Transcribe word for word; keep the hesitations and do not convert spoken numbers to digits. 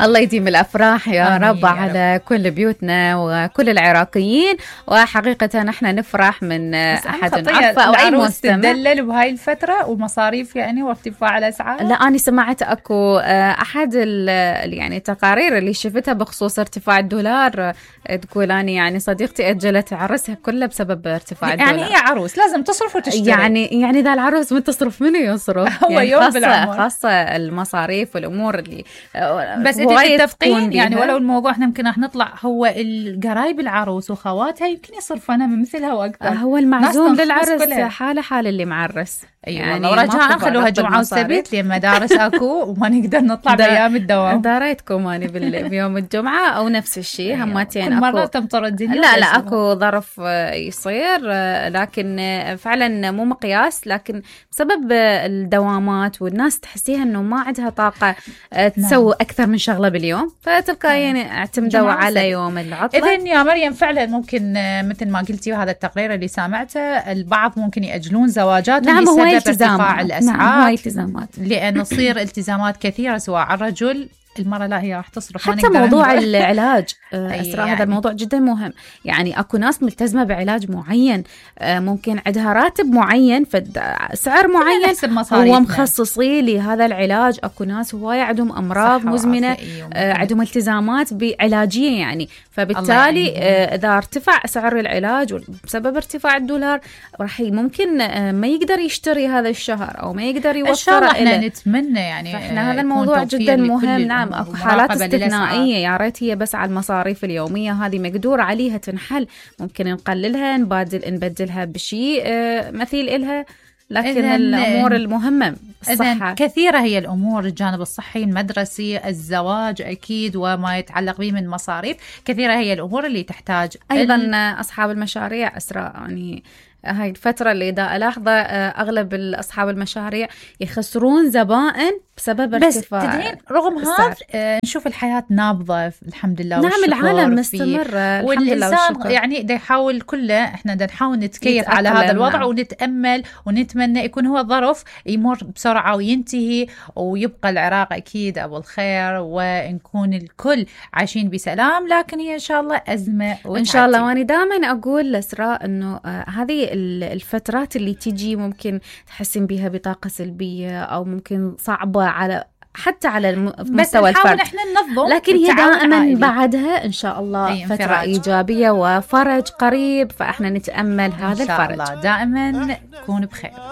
الله يديم الأفراح يا رب على رب. كل بيوتنا وكل العراقيين. وحقيقة نحن نفرح من أحد عفا أو أي مستمع تدلل بهاي الفترة ومصاريف يعني وارتفاع الأسعار. لا أنا سمعت أكو أحد يعني التقارير اللي شفتها بخصوص ارتفاع الدولار تقول أنا يعني صديقتي أجلت عرسها كلها بسبب ارتفاع الدولار. يعني هي عروس لازم تصرف وتشتري. يعني يعني ذا العروس من تصرف منه يصرف. هو يعني يوم خاصة بالعمر. خاصة المصاريف والأمور اللي بس انت تتفقين يعني ولو الموضوع احنا يمكن راح نطلع هو القرايب العروس وخواتها يمكن يصرفنا من مثلها واكثر. هو المعزوم للعرس حاله حال اللي معرس. يعني ورجاء خلوها جمعة وسبت لين مدارس اكو وما نقدر نطلع بايام الدوام. داريتكم اني بيوم الجمعة او نفس الشيء همتين اكو مرة تمطر الدنيا. لا لا اكو ظرف يصير لكن فعلا مو مقياس لكن بسبب الدوامات والناس تحسيها انه ما عندها طاقة تسوي اكثر من شغلة باليوم فتلقى يعني اعتمدوا على يوم العطلة. اذن يا مريم فعلا ممكن مثل ما قلتي وهذا التقرير اللي سامعته البعض ممكن يأجلون زواجاتهم نعم بسبب ارتفاع الاسعار. نعم هاي التزامات لان تصير التزامات كثيرة سواء على الرجل المرة لا هي راح تصرف. حتى موضوع العلاج أسرع يعني. هذا الموضوع جدا مهم يعني أكو ناس ملتزمة بعلاج معين ممكن عندها راتب معين فسعر معين هو مخصصي لهذا العلاج. أكو ناس هواية عندهم أمراض مزمنة عندهم التزامات بعلاجية يعني فبالتالي إذا ارتفع سعر العلاج بسبب ارتفاع الدولار راح ممكن ما يقدر يشتري هذا الشهر أو ما يقدر يوفره. احنا نتمنى يعني فإحنا هذا الموضوع جدا مهم. نعم أكو حالات استثنائية يا ريت هي بس على المصاريف اليومية هذه مقدور عليها تنحل ممكن نقللها نبادل نبدلها بشيء مثيل إلها لكن الأمور المهمة الصحة كثيرة هي الأمور الجانب الصحي المدرسي الزواج أكيد وما يتعلق به من مصاريف كثيرة هي الأمور اللي تحتاج أيضا ال... أصحاب المشاريع أسراء يعني هاي الفترة اللي دا ألاحظه أغلب أصحاب المشاريع يخسرون زبائن بسبب ارتفاع. بس تدرين رغم هذا آه نشوف الحياة نابضة الحمد لله. نعم العالم مستمر والإنسان يعني دا يحاول كله إحنا دا نحاول نتكيف على هذا الوضع. نعم. ونتأمل ونتمنى يكون هو ظرف يمر بسرعة وينتهي ويبقى العراق أكيد أبو الخير ونكون الكل عايشين بسلام. لكن هي إن شاء الله أزمة وتعدي. إن شاء الله. وأنا دائما أقول لإسراء إنه آه هذه الفترات اللي تيجي ممكن تحسن بها بطاقة سلبية أو ممكن صعبة على حتى على مستوى الفرد احنا ننظم لكن هي دائما بعدها إن شاء الله فترة إيجابية وفرج قريب فإحنا نتأمل هذا الفرج. إن شاء الله دائما نكون بخير.